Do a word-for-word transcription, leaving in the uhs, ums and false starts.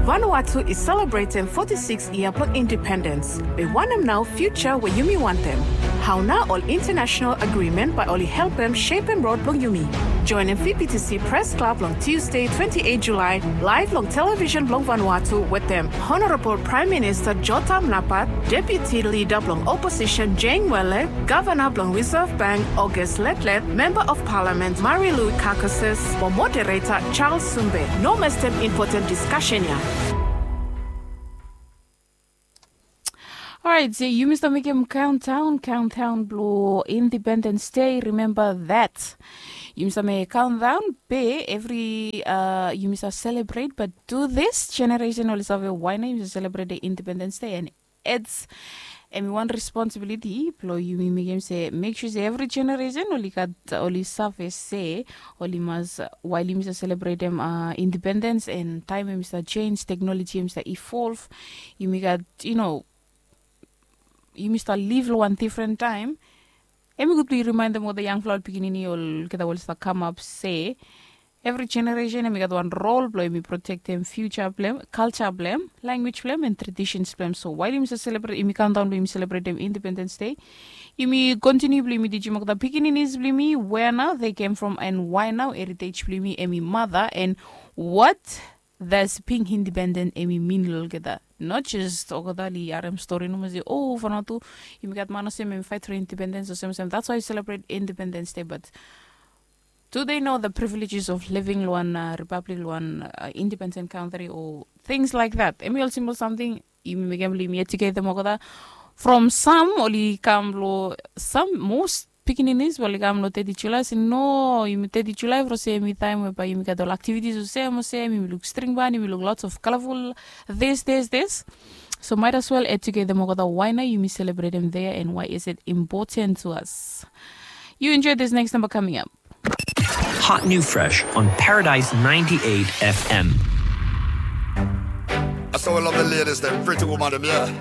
Vanuatu i selebretem foti sikis yia blong indipendens. Be wanem nao fiuja we yumi wantem? Hao nao ol intanasenal agrimen bae oli helpem sepem rod blong yumi? Joenem V B T C Pres Klab long Tusde twenti eit Julae, laev long televisen blong Vanuatu wetem Honorabol Praem Minista Jotham Napat, Deputi Lida blong Oposisen Jane Wele, Gavana blong Risav Bank August Letlet, Memba of Palamen Marilou Carcasses, mo Modereta Charles Sumbe. No mestem impoten diskasen ya. Orait, se yumi stap mekem kaontaon, kaontaon blong Independens Dei, rimemba dat. Yumi stap mekem kaontaon, be evri, a, yumi stap selebret, bat tu dis jeneresen oli save wae nao yumi stap selebret Independens Dei, and its, hemi wan responsibiliti blong yumi mekem se, mek sua se evri jeneresen oli gat, oli save se, oli mas, wael yumi stap selebretem, a, indipendens, and taem hemi stap jenis, teknoloji hemi stap ivolv, yumi gat, yu no, yumi stap liv long wan difren taem. Hemi gud blong yu rimaendem olgeta yangfala ol pikinini olgeta we oli stap kamap se evri jeneresen hemi gat wan rol blong hemi protektem fiuja blong hem, kalja blong hem, lanwis blong hem, and tradisens blong hem. So wael yumi stap selebret, yumi kaontaon blong yumi selebretem Independens Dei, yumi kontiniu blong yumi tijim olgeta pikininis blong yumi wea nao they came from and wae nao heritej blong yumi hemi mata, and what does being independent hemi min long olgeta. Not just olgeta oli harem stori nomo se, o, Vanuatu, yumi gat man olsem hemi faet long indipendens olsem olsem. That's why we celebrate Independence Day, but do they know the privileges of living long wan, a, ripablik, long wan, a, independent kantri o things like that? Hemi ol simpol samting yumi mekem blong yumi ejuketem olgeta. From sam oli kam long sam, most pikininis we oli kam long teti Julae, se no, yumi teti Julae from se hemi taem we bae yumi gat ol aktivitis olsem olsem, yumi luk string ban, yumi luk lots of colorful this, this, this. So might as well ejuketem olgeta wae nao yumi selebretem dei, and why is it important to us? You enjoy this next number coming up. Hot New Fresh on Paradise ninety-eight F M. I so love the ladies, them pretty woman, them, yeah.